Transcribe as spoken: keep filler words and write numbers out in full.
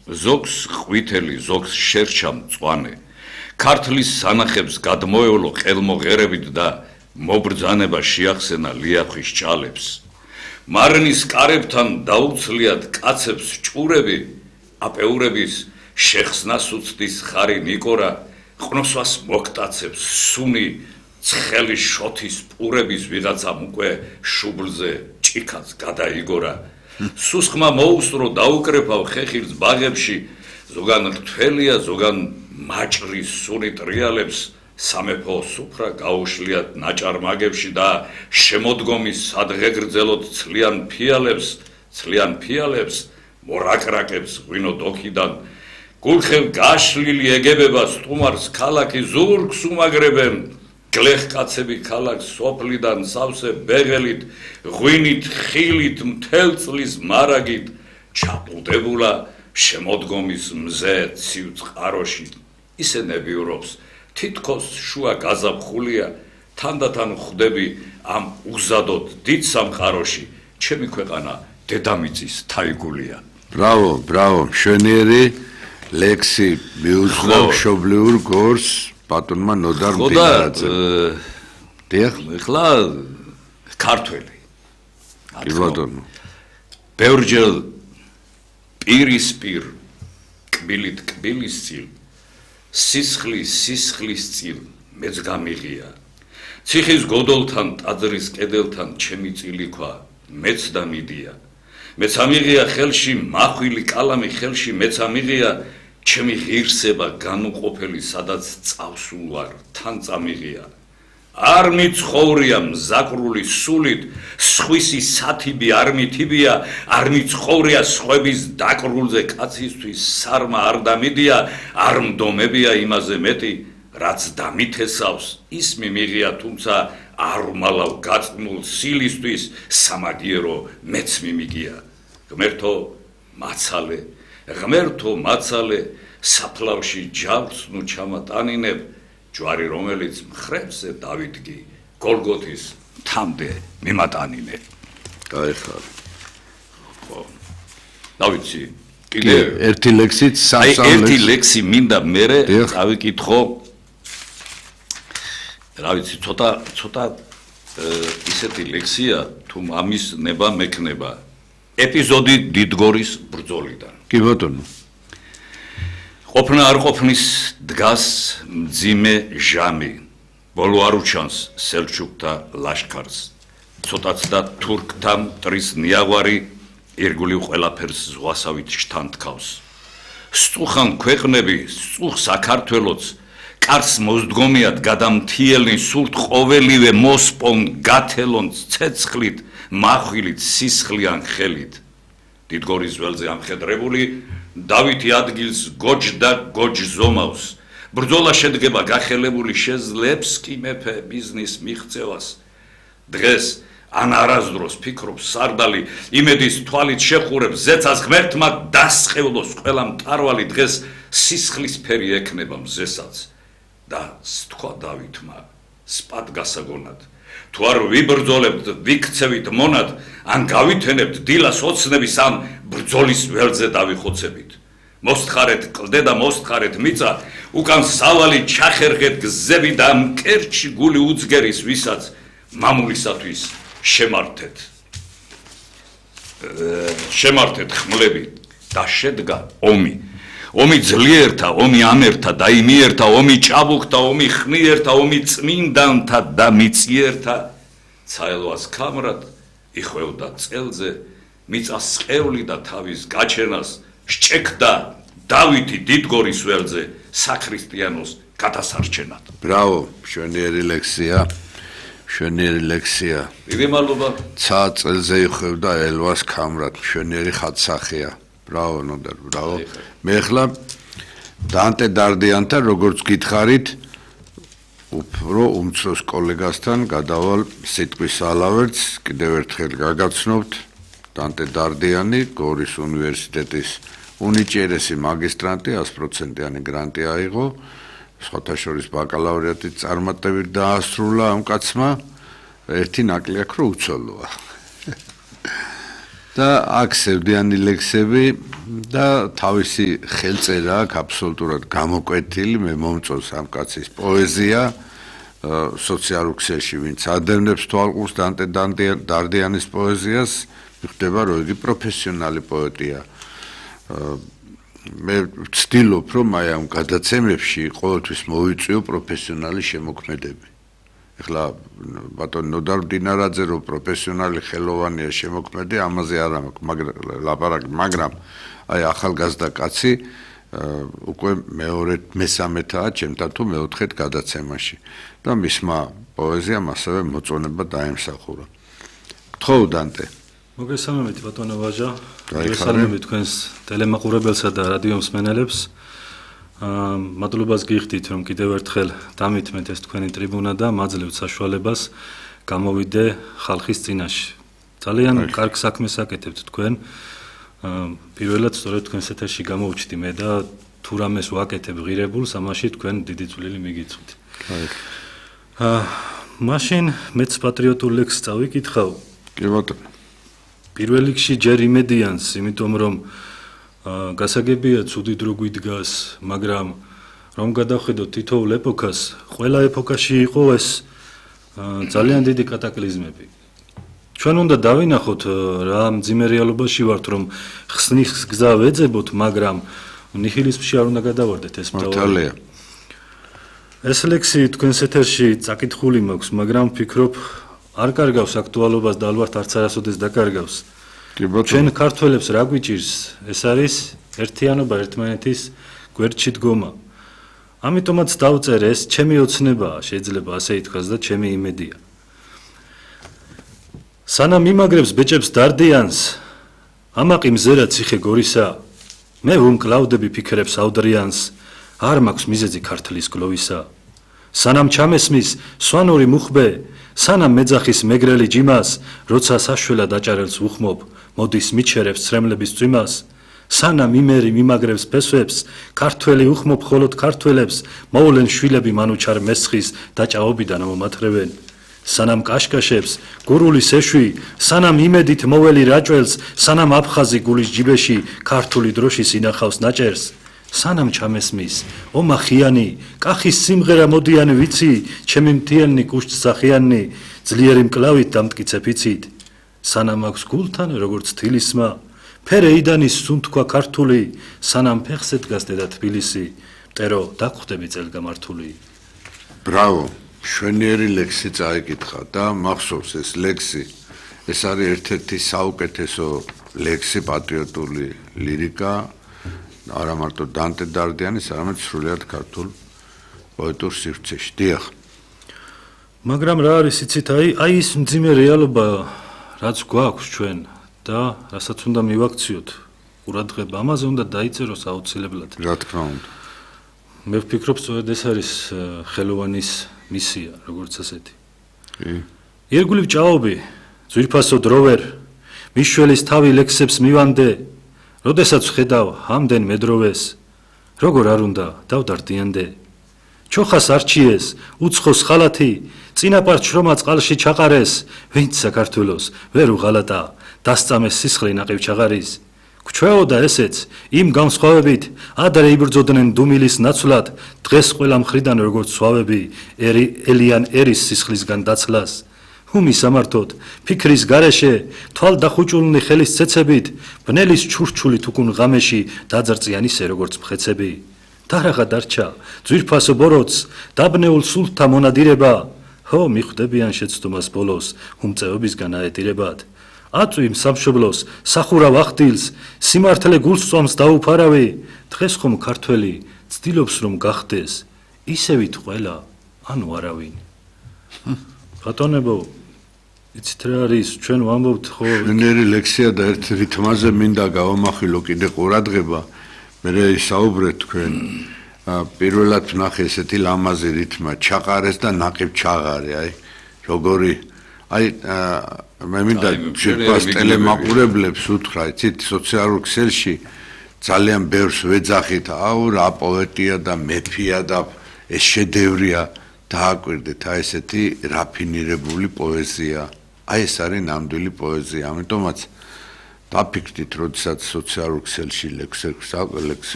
ზოგს ყვითელი, ზოგს შერჩა მწვანე. ქართლის სანახებს გადმოევლო ყელმოღერებით და მობრძანება შეახსენა ლიახვის ჭალებს. მარნის კარებთან დაუცლიათ კაცებს ჭურები, აპეურების შეხსნას უცდის ხარი ნიკორა, ყნოსვას მოგტაცებს სუნი, ცხელი შოთის პურების ვიღაცამ უკვე შუბლზე ჭიქაც გადაიგორა. სუსხმა მოუსწრო დაუკრეფავ ხეხილს ბაღებში, ზოგან რთველია, ზოგან მაჭრის სუნი ტრიალებს, სამეფო სუფრა გაუშლიათ ნაჭარმაგებში და შემოდგომის სადღეგრძელოდ ცლიან ფიალებს, ცლიან ფიალებს, მორაკრაკებს ღვინო დოქიდან, გულხელ გაშლილი ეგებება სტუმარს ქალაქი ზურგს უმაგრებენ, გლეხკაცები ქალაქს სოფლიდან სავსე ბეღელით, ღვინით, ხილით, მთელ წლის მარაგით, ჩაპლდებულა შემოდგომის მზე ცივ წყაროში, ისე ნებიურობს, თითქოს შუა გაზაფხულია, თანდათან ხვდები ამ უგზადოდ დიდ სამყაროში, ჩემი ქვეყანა დედამიწის თაიგულია. Bravo, bravo, მშვენიერი ლექსი მიუძღვნა მშობლიურ გორს ბატონმა ნოდარ მდინარაძე. დიახ, ეხლა ქართველი. კი ბატონო. ბევრჯერ პირისპირ კბილით კბილის წილ, სისხლის სისხლის წილ მეც გამიღია. ციხის გოდოლთან, ტაძრის კედელთან ჩემი წილი ქვა, მეც და მიდია. მეც ამიღია ხელში მახვილი კალამი ხელში მეც ამიღია ჩემი ღირსება განუყოფელი სადაც წავსულვარ თან წამიღია. არ მიცხოვრია მზაკრული სულით, სხვისი სათიბი არ მითიბია, არ მიცხოვრია სხვების დაკრულზე კაცისთვის სარმა არ დამიდია, არ მდომებია იმაზე მეტი, რაც დამითესავს, ის მიმიღია, თუმცა არ უმალავ გაწმულ სილისთვის სამაგიერო მეც მიმიგია. ღმერთო მაცალე, ღმერთო მაცალე, საფლავში ჯავრს ნუ ჩამატანინებ, ჯვარი რომელიც მხრებზე დავიდგი, გოლგოთის თამდე მიმატანინე. გაიხარ. ხო. დავიცი, კიდე ერთი ლექსით აი ერთი ლექსი მინდა მერე დავიკითხო. რა ვიცი, ცოტა ცოტა ისეთი ლექსია, თუ ამის ნება მექნება. ეპიზოდი დიდგორის ბრძოლიდან. კი ბატონო. ყოფნა არ ყოფნის დგას მძიმე ჟამი. ბოლო არ უჩანს სელჩუკთა ლაშქარს. ცოტაც და თურქთა მტრის ნიაღვარი ირგვლივ ყველაფერს ზღვასავით შთანთქავს. სწუხან ქვეყნები, სწუხ საქართველოც კარს მოსდგომიათ გადამთიელნი სულთ ყოველივე მოსპონ გათელონ ცეცხლით, მახვილით, სისხლიან ხელით. დიდგორის ველზე ამხედრებული დავითი ადგილს გოჯდა გოჯ ზომავს. ბრძოლა შედგება გახელებული შეძლებს კი მეფე ბიზნის მიღწევას. დღეს ან არასდროს ფიქრობს სარდალი, იმედის თვალით შეხურებს ზეცას ღმერთმა დასხევლოს ყველა მტარვალი, დღეს სისხლის ფერი ექნება მზესაც და სთქვა დავითმა სპად გასაგონად. თუ არ ვიბრძოლებთ, ვიქცევით მონად, ან გავითენებთ დილას ოცნების, ან ბრძოლის ველზე დავიხოცებით. მოსთხარეთ კლდე და მოსთხარეთ მიწა, უკან სავალი ჩახერხეთ გზები და მკერჩი გული უძგერის, ვისაც მამულისათვის შემართეთ. შემართეთ ხმლები და შედგა ომი. ომი ძლიერთა, ომი ამერთა და იმიერთა, ომი ჭაბუკთა, ომი ხნიერთა, ომი წმინდანთა და მიწიერთა. ცაელვას ქამრად იხვევდა წელზე, მიწას სყეული და თავის გაჩენას სჭექდა დავითი დიდგორის ველზე საქრისტიანოს გადასარჩენად. Bravo, მშვენიერი ლექსია. მშვენიერი ლექსია. დიდი მადლობა. ცა წელზე იხვევდა ელვას ქამრად, მშვენიერი ხატსახია. Bravo, ნოდარ, bravo. მე ახლა დანტე დარდიანთან როგორც გითხარით, უფრო უმცროს კოლეგასთან გადავალ სიტყვის ალავერტს, კიდევ ერთხელ გაგაცნობთ, დანტე დარდიანი, გორის უნივერსიტეტის უნიჭიერესი მაგისტრანტი, ას პროცენტიანი გრანტი აიღო, სხვათა შორის ბაკალავრიატით წარმატებით დაასრულა ამ კაცმა, ერთი ნაკლი აქვს, რომ უცოლოა. და აქ სევდიანი ლექსები და თავისი ხელწერა აქვს აბსოლუტურად გამოკვეთილი, მე მომწონს ამ კაცის პოეზია სოციალურ ქსელში, ვინც ადევნებს თვალყურს დანტე დარდიანის პოეზიას, მიხვდება, რომ იგი პროფესიონალი პოეტია. მე ვცდილობ, რომ აი ამ გადაცემებში ყოველთვის მოვიწვიო პროფესიონალი შემოქმედები. ეხლა ბატონი ნოდარ დინარაძე რომ პროფესიონალი ხელოვანია შემოქმედი, ამაზე არ მაქვს ლაპარაკი, მაგრამ აი ახალგაზრდა კაცი უკვე მეორე მესამეთაა ჩემთან თუ მეოთხედ გადაცემაში და მისმა პოეზიამ ასევე მოწონება დაემსახურა. გთხოვ დანტე. მოგესალმებით ბატონო ვაჟა. მოგესალმებით თქვენს ტელემაყურებელსა და რადიო მსმენელებს. მადლობას გიხდით რომ კიდევ ერთხელ დამითმეთ ეს თქვენი ტრიბუნა და მაძლევთ საშუალებას გამოვიდე ხალხის წინაშე. ძალიან კარგ საქმეს აკეთებთ თქვენ. პირველად სწორედ თქვენს ეთერში გამოვჩდი მე და თუ რამეს ვაკეთებ ღირებულს, ამაში თქვენ დიდი წვლილი მიგიწვით. აა მაშინ მეც პატრიოტულ ლექსს წავიკითხავ. კი ბატონო. პირველ რიგში ჯერ იმედიანს, იმიტომ რომ გასაგებია ცუდი დრო გვიდგას, მაგრამ რომ გადავხედოთ თითოეულ ეპოქას, ყველა ეპოქაში იყო ეს ძალიან დიდი კატაკლიზმები. ჩვენ უნდა დავინახოთ რა მძიმე რეალობაში ვართ, რომ ხსნის გზა ვეძებოთ, მაგრამ ნიჰილიზმში არ უნდა გადავარდეთ ეს მართალია. ეს ლექსი თქვენს ეთერში წაკითხული მაქვს, მაგრამ ვფიქრობ არ კარგავს აქტუალობას და ალბათ არც არასოდეს დაკარგავს. ჩვენ ქართველებს რა გვიჭირს? ეს არის ერთიანობა, ერთმანეთის გვერდში დგომა. ამიტომაც დავწერე, ეს ჩემი ოცნებაა, შეიძლება ასე ითქვას და ჩემი იმედია. სანამ იმაგრებს ბეჭებს დარდიანს, ამაყი მზერა ციხე გორისა, მე ვუმკლავდები ფიქრებს ავდრიანს, არ მაქვს მიზეზი ქართლის გლოვისა. სანამ ჩამესმის სვანური მუხბე, სანამ მეძახის მეგრელი ჯიმას, როცა საშველად აჭარელს უხმობ, მოდის მიჩერებს ცრემლების წვიმას, სანამ იმერი მიმაგრებს ფესვებს, ქართველი უხმობ ხოლოდ ქართველებს, მოვლენ შვილები მანუჩარ მესხის დაჭაობიდან მომათრევენ. სანამ კაშკაშებს გურულის ეშვი, სანამ იმედით მოველი რაჭველს, სანამ აფხაზი გულის ჯიბეში ქართული დროშის ინახავს ნაჭერს, სანამ ჩამესმის ომახიანი, კახის სიმღერა მოდიანი ვიცი, ჩემი მთიელნი კუშტ სახიანი, ძლიერი მკლავით დამტკიცე ფიცით, სანამ აქვს გულთან როგორც თილისმა, ფერე იდანის სუნთქვა ქართული, სანამ ფეხზე დგას დედა თბილისი, მტერო დაგხვდები წელგამართული. ბრავო, შვენიერი ლექსი წაიკითხა და მახსოვს ეს ლექსი, ეს არის ერთ-ერთი საუკეთესო ლექსი პატრიოტული ლირიკა, არა მარტო დანტე დარდიანის, არამედ სრულიად ქართულ პოეტურ სივრცეში. დიახ. მაგრამ რა არის იცით, აი, აი ის მძიმე რეალობა, რაც გვაქვს ჩვენ და რასაც უნდა მივაქციოთ ყურადღება, ამაზე უნდა დაიწეროს აუცილებლად. რა თქმა უნდა. მე ვფიქრობ, სწორედ ეს არის ხელოვანის მისია, როგორც ასეთი. კი. ირგვლივ ჭაობი, ძვირფასო დროვერ, მიშველის თავი ლექსებს მივანდე, როდესაც ვხედავ ამდენ მედროვეს, როგორ არ უნდა დავდარდიანდე. ჩოხას არჩიეს, უცხოს ხალათი, წინაპარ შრომა წყალში ჩაყარეს, ვინც საქართველოს ვერ უღალატა, დასწამეს სისხლი ნაყივ ჩაღარის. გვჩვეოდა ესეც, იმ განსხვავებით, ადრე იბრძოდნენ დუმილის ნაცვლად, დღეს ყველა მხრიდან როგორც სვავები, ელიან ერის სისხლისგან დაცლას. ჰუმი სამართოდ, ფიქრის გარეშე, თვალდახუჭულნი ხელის ცეცებით, ბნელის ჩურჩული თუკუნ ღამეში დაძრწიან ისე როგორც მხეცები. დარაღა დარჩა, ძვირფასო ბოროტს, დაბნეულ სულთა მონადირება, ჰო მიხვდებიან შეცდომას ბოლოს, უმწეობისგან აეტირებად. აწვიმ სამშობლოს, სახურავ ახდილს, სიმართლე გულს წვამს დაუფარავი, დღეს ხომ ქართველი ცდილობს რომ გახდეს, ისევით ყველა, ანუ არავინ. ბატონებო, იცით რა არის, ჩვენ ვამბობთ ხო შვენიერი ლექსია და ერთ რითმაზე მინდა გავამახვილო კიდე ყურადღება, მე ისაუბრეთ თქვენ. პირველად ვნახე ესეთი ლამაზი რითმა, ჩაყარეს და ნაყივ ჩაღარე, აი როგორი აი მე მინდა შეგვას ტელემაყურებლებს უთხრა, იცით, სოციალურ ქსელში ძალიან ბევრს ვეძახით, აუ რა პოეტია და მეფია და ეს შედევრია. დააკვირდეთ, აი ესეთი რაფინირებული პოეზია. აი ეს არის ნამდვილი პოეზია. ამიტომაც დაფიქრდით, როდესაც სოციალურ ქსელში ლექსებს ლექსებს